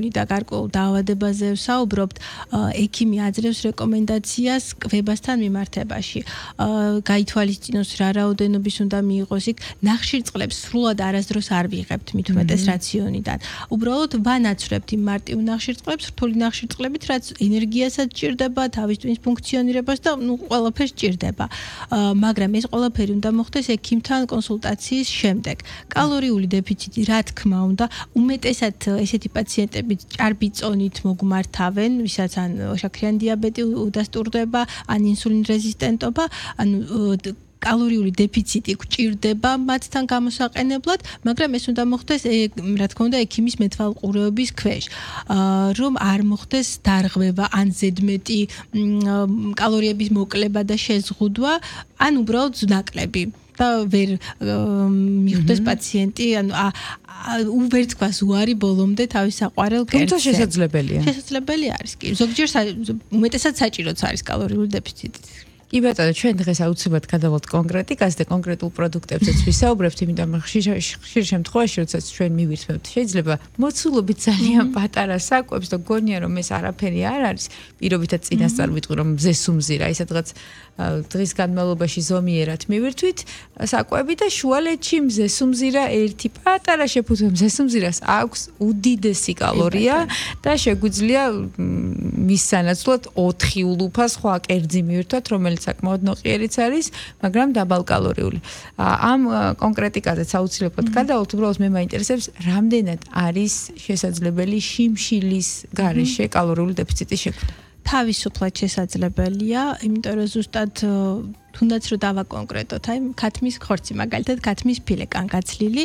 და გარკვეულ დაავადებაზე ვსაუბრობთ, ექიმი აძლევს რეკომენდაციას კვებასთან მიმართებაში. გაითვალისწინოს რა რაოდენობის უნდა მიიღოს იქ, ნახშირწყლებს სრულად არასდროს არ ვიღებთ მით უმეტეს რაციონიდან. უბრალოდ ვანაცვლებთ იმ მარტივ ნახშირწყლებს, რთული ნახშირწყლებით, რაც ენერგიასაც ჭირდება, თავის ტვინის ფუნქციონირებას და ყველაფერს ჭირდება. მაგრამ ეს ყველაფერი უნდა მოხდეს ექიმთან კონსულტაციის შემდეგ. კალორიული დეფიციტი, რა თქმა უნდა, უმეტესად ესეთი პაციენტები ჭარბი წონით მოგმართავენ, ვისაც ან შაქრიანი დიაბეტი უდასტურდება, ან ინსულინ რეზისტენტობა, ანუ კალორიული დეფიციტი გვჭირდება მათთან გამოსაყენებლად, მაგრამ ეს უნდა მოხდეს, რა თქმა უნდა, ექიმის მეთვალყურეობის ქვეშ. რომ არ მოხდეს დარღვევა, ან ზედმეტი კალორიების მოკლება და შეზღუდვა, ან უბრალოდ ნაკლები. და ვერ მიხვდეს პაციენტი, ანუ ვერ თქვას უარი ბოლომდე თავის საყვარელ კერძზე. თუმცა შესაძლებელია. შესაძლებელი არის კი. ზოგჯერ უმეტესად საჭიროც არის კალორიული დეფიციტი. კი ბატონო, ჩვენ დღეს აუცილებლად გადავალთ კონკრეტიკას და კონკრეტულ პროდუქტებზეც ვისაუბრებთ, იმიტომ რომ ხშირ შემთხვევაში, როდესაც ჩვენ მივირთმევთ, შეიძლება მოცულობით ძალიან პატარა საკვებს და გონია რომ ეს არაფერი არ არის, პირობითად წინასწარ ვიტყვი რომ მზესუმზირა, აი სადღაც დღის განმავლობაში ზომიერად მივირთვით საკვები და შუალედში მზესუმზირა ერთი პატარა შეფუთვე მზესუმზირას აქვს უდიდესი კალორია და შეგვიძლია მის სანაცვლოდ 4 ულუფა სხვა კერძი მივირთვათ, რომელიც საკმაოდ ნოყიერიც არის, მაგრამ დაბალკალორიული. ამ კონკრეტიკაზეც აუცილებლად გადავალთ, უბრალოდ მე მაინტერესებს, რამდენად არის შესაძლებელი შიმშილის გარეშე კალორიული დეფიციტის შექმნა. თავისუფლად შესაძლებელია, იმიტომ რომ ზუსტად თუნდაც რომ დავაკონკრეტოთ, აი ქათმის ხორცი, მაგალითად ქათმის ფილე კანკაცლილი,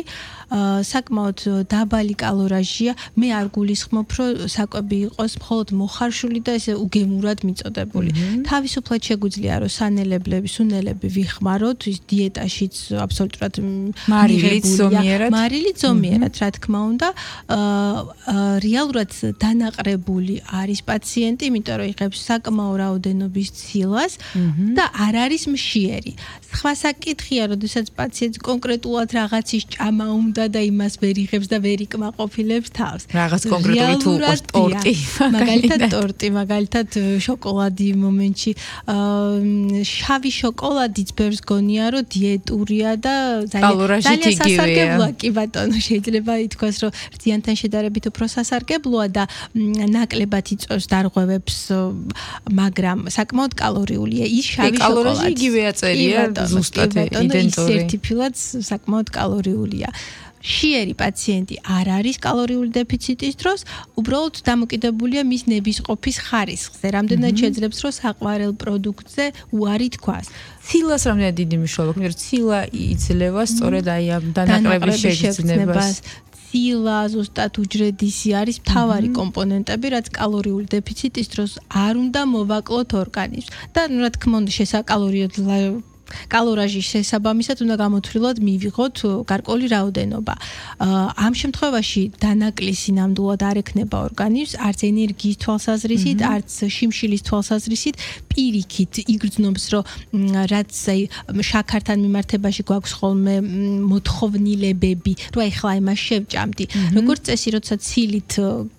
საკმაოდ დაბალი კალორაჟია. მე არ გულისხმობ, რომ საკვები იყოს მხოლოდ მოხარშული და ესე უგემურად მიწოდებული. თავისუფლად შეგვიძლია, რომ სანელებლები, სუნელები ვიხმაროთ, ის დიეტაშიც აბსოლუტურად მარილიც ზომიერად, რა თქმა უნდა. რეალურად დანაყრებული არის პაციენტი, იმიტომ რომ იღებს საკმაო რაოდენობის ცილას და არ არის მშიერი. სხვა საკითხია, როდესაც პაციენტს კონკრეტულად რაღაცის ჭამა უნდა და იმას ვერ იღებს და ვერ იკმაყოფილებს თავს. რაღაც კონკრეტული თუ იყოს ტორტი, მაგალითად ტორტი, მაგალითად შოკოლადი მომენტში, შავი შოკოლადიც ბევრს გონია, რომ დიეტურია და ძალიან სასარგებლოა, კი ბატონო, შეიძლება ითქვას, რომ რძიანთან შედარებით უფრო სასარგებლოა და ნაკლებად იწვევს დარღვევებს, მაგრამ საკმაოდ კალორიულია. ის შავი შოკოლადი იგივე აწერია, ზუსტად იდენტური. ერთი ფილაც საკმაოდ კალორიულია. მშიერი პაციენტი არ არის კალორიული დეფიციტის დროს, უბრალოდ დამოკიდებულია მის ნებისყოფის ხარისხზე, რამდენად შეძლებს რომ საყვარელ პროდუქტზე უარი თქვას. ცილას რამდენად დიდი მნიშვნელობა, მაგრამ ცილა იძლევა სწორედ აი ამ დანაკლების შეგრძნებას. ცილა, ზუსტად უჯრედისი არის მთავარი კომპონენტები, რაც კალორიული დეფიციტის დროს არ უნდა მოვაკლოთ ორგანიზმს. და რა თქმა უნდა, კალორაჟის შესაბამისად უნდა გამოთვლილად მივიღოთ გარკვეული რაოდენობა. ამ შემთხვევაში დანაკლისი ნამდვილად არ ექნება ორგანიზმს, არც ენერგიის თვალსაზრისით, არც შიმშილის თვალსაზრისით, პირიქით იგრძნობს, რომ რაც აი შაქართან მიმართებაში გვაქვს ხოლმე მოთხოვნილებები, რომ ეხლა იმას შევჭამდი. როგორც წესი, როცა ცილით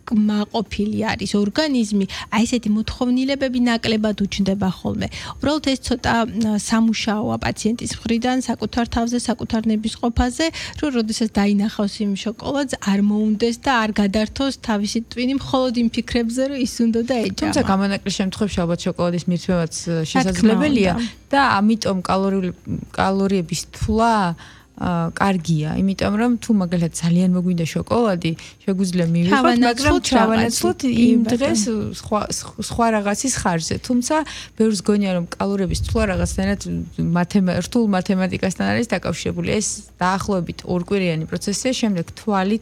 კმაყოფილი არის ორგანიზმი, აი ესეთი მოთხოვნილებები ნაკლებად უჩნდება ხოლმე. უბრალოდ ეს ცოტა სამუშაოა პაციენტის მხრიდან საკუთარ თავზე, საკუთარ ნებისყოფაზე, რომ როდესაც დაინახავს იმ შოკოლადს, არ მოუნდეს და არ გადართოს თავისი ტვინი მხოლოდ იმ ფიქრებზე, რომ ის უნდა და ეჭამა. თუმცა გამონაკლისის შემთხვევაში ალბათ შოკოლადის მირთმევაც შესაძლებელია და ამიტომ კალორიების თვლა კარგია, იმიტომ რომ თუ მაგალითად ძალიან მოგვინდა შოკოლადი, შეგვიძლია მივიღოთ, მაგრამ ჩავანაცვლოთ იმ დღეს სხვა რაღაცის ხარჯზე. თუმცა ბევრს გონია რომ კალორიების თვლა რაღაცნაირად რთულ მათემატიკასთან არის დაკავშირებული. ეს დაახლოებით ორკვირიანი პროცესია, შემდეგ თვალი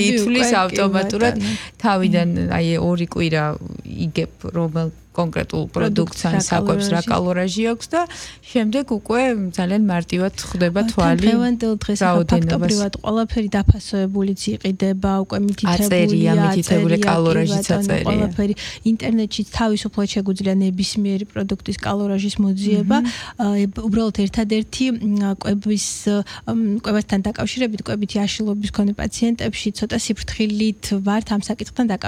ითვლის ავტომატურად თავიდან აი 2 კვირა იგებ რომელ კონკრეტულ პროდუქტს ან საკვებს რა კალორიაჟი აქვს და შემდეგ უკვე ძალიან მარტივად ხდება თვალი. დღევანდელ დღეს ფაქტობრივად ყველაფერი დაფასოებულიც იყიდება, უკვე მითითებული კალორიაჟიც აწერია. ყველაფერი ინტერნეტში თავისუფლად შეგვიძლია ნებისმიერი პროდუქტის კალორიაჟის მოძიება. უბრალოდ ერთადერთი კვებასთან დაკავშირებით, კვებითი აშლილობის მქონე პაციენტებში ცოტა სიფრთხილით ვართ ამ საკითხთან